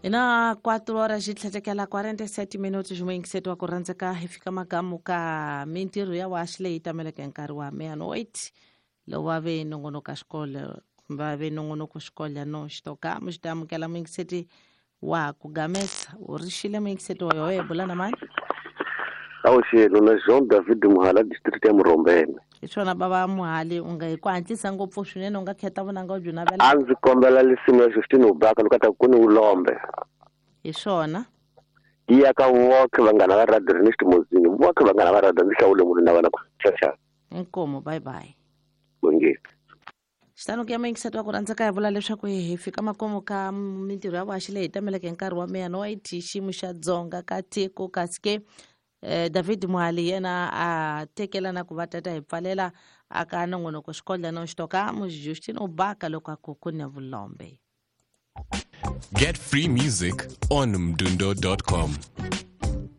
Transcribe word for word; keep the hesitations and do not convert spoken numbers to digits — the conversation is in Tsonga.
Ina quatro horas de tlhetekela quarenta e sete minutos muyingiseti wa ku rhandzeka hi fika makamu ka mintirho ya waxi leyi tameleke nkarhi wa meia-noite lowu va ve nongonoko xikolo va ve nongonoko xikolo no xitoka mu xi ta amukela muyingiseti wa ku gamesa u rixile muyingiseti wa yoho bula na mani. Awuxelo na Jean David Muhala district ya Murombene. Hi swona bava Muhali u nga hi ku hatlisa ngopfu swinene u nga khetha vunanga u byi navela. A ndzi kombela lisimu ya Justine Ubaka loko ta ku ni ulombe. Hi swona. Yi ya ka voke vanghana va radio Ernest Mozini voke vanghana va radio ndzi hlawule munhu na vana ku xaxa. Inkomo bye bye. Bongeni. Xitano ku ya muyingiseti wa ku rhandzeka hi vula leswaku hi fika makumu ka mintirho ya vuhaxi leyi tameleke nkarhi wa meia-noite xiyimo xa dzonga ka tiko kasi ke Eh, David Muhali yena a tekela na ku va tata hi pfalela aka nongonoko xikodla no xitoka mu Justine Ubaka loko a ku ku ne vulombe. Get free music on mdundo dot com.